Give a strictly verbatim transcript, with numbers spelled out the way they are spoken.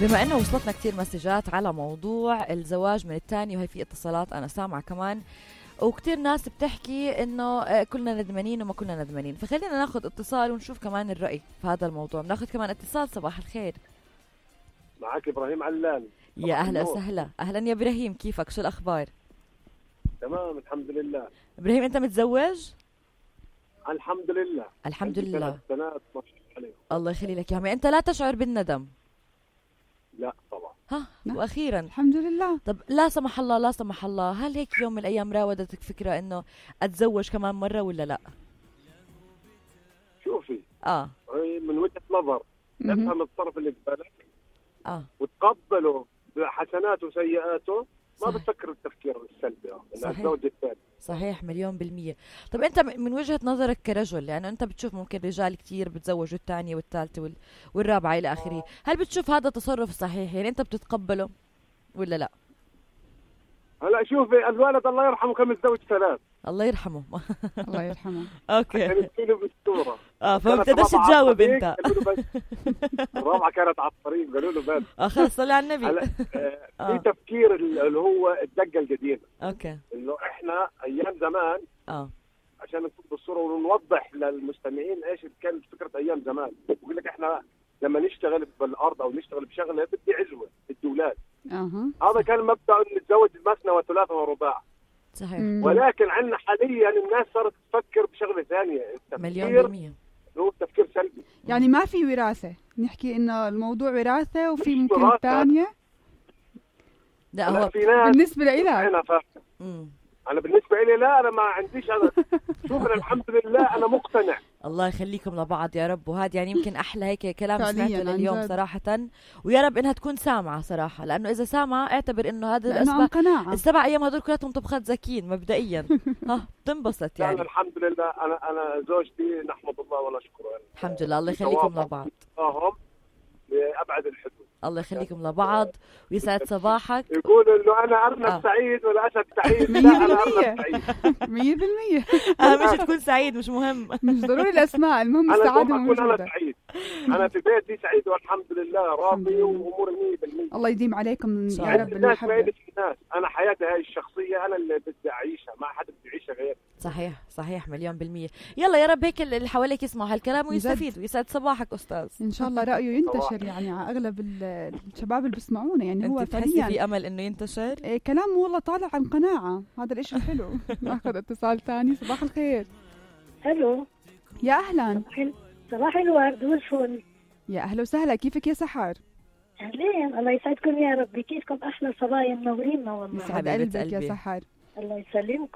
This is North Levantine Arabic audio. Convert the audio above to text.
بما انه وصلتنا كتير مسجات على موضوع الزواج من الثاني، وهي في اتصالات انا سامعة كمان، وكتير ناس بتحكي انه كلنا ندمانين وما كلنا ندمانين، فخلينا ناخد اتصال ونشوف كمان الرأي في هذا الموضوع. بناخد كمان اتصال. صباح الخير، معك ابراهيم علان. يا اهلا وسهلا. اهلا يا ابراهيم، كيفك؟ شو الاخبار؟ تمام الحمد لله. ابراهيم انت متزوج؟ الحمد لله الحمد لله. سنوات ما شاء الله. الله يخلي لك يا عمي. انت لا تشعر بالندم؟ لا طبعا. ها واخيرا الحمد لله. طب لا سمح الله لا سمح الله، هل هيك يوم من الايام راودتك فكره انه اتزوج كمان مره ولا لا؟ شوفي اه من وجهه نظر افهم الطرف اللي ببالك اه وتقبله بحسناته وسيئاته، ما صحيح. بتفكر التفكير السلبي انه صحيح. الزوج الثاني. صحيح مليون بالمية. طب انت من وجهة نظرك كرجل، لانه انت بتشوف ممكن رجال كتير بتزوجوا الثانية والثالثة وال... والرابعة الى اخره، هل بتشوف هذا تصرف صحيح؟ يعني انت بتتقبله ولا لا؟ هلا شوفي الوالد الله يرحمه كان متزوج ثلاث. الله يرحمه. الله يرحمه. اوكي. كان يسيله بالصورة. اه فما بتقدرش تجاوب انت. الرابعة كانت على الطريق قالوا له بس. اه خلص صلي على النبي. هلا في تفكير اللي هو الدقة القديمة. اوكي. انه احنا ايام زمان اه عشان نكون بالصورة ونوضح للمستمعين ايش كانت فكرة ايام زمان. بقول لك احنا لما نشتغل بالارض او نشتغل بشغله بدي عزوة بدي اولاد. اها. هذا كان مبدأ انه نتزوج مثنى وثلاثة ورباع. صحيح. ولكن عندنا حاليا الناس صارت تفكر بشغله ثانية. مليون بالمية. هو تفكير سلبي. يعني ما في وراثة، نحكي انه الموضوع وراثة وفي ممكن وراثة. ثانية. لا هو في ناس بالنسبة لإلك انا فاهم. مم. انا بالنسبة لي لا، انا ما عنديش. انا شوف الحمد لله انا مقتنع. الله يخليكم لبعض يا رب. وهذا يعني يمكن احلى هيك كلام فعلياً سمعته عن لليوم جد. صراحة، ويا رب انها تكون سامعة صراحة، لانه اذا سامعة اعتبر انه هذا لأنه عن الاسباب قناعة. السبع ايام هدول كلهم طبخات زكين مبدئيا. ها بتنبسط يعني يعني. الحمد لله انا انا زوجتي نحمد الله ونشكره. يعني الحمد لله. الله يخليكم لبعض. فاهم لابعد الحدود. الله يخليكم لبعض ويسعد صباحك. يقول انه انا ارنب آه. سعيد ولا اسد سعيد. مية لا انا بالمية. ارنب سعيد. مية بالمية. اهم شيء تكون سعيد، مش مهم. مش ضروري الاسماء، المهم انا السعادة دوم اكون انا موجودة. سعيد. انا في بيتي سعيد والحمد لله الحمد راضي لله. واموري مية بالمية. الله يديم عليكم صح. يا رب الناس ما المحبة. يدري الناس، انا حياتي هاي الشخصيه انا اللي بدي اعيشها، ما حد بده يعيشها غير. صحيح صحيح مليون بالمية. يلا يا رب هيك اللي حواليك يسمعوا هالكلام ويستفيدوا. يسعد صباحك استاذ. ان شاء الله رأيه ينتشر يعني على اغلب ال- الشباب اللي بيسمعونا، يعني هو انت بتحسي فعليا في امل انه ينتشر؟ إيه كلام والله طالع عن قناعة، هذا الاشي حلو. ناخذ اتصال ثاني. صباح الخير. الو. يا اهلا. صباح الورد والفل. يا اهلا وسهلا، كيفك يا سحر؟ اهلين، الله يسعدكم يا ربي. كيفكم؟ احلى صبايا منورينا والله. يسعد حبيبة قلبك يا قلبي. سحر. الله يسلمكم.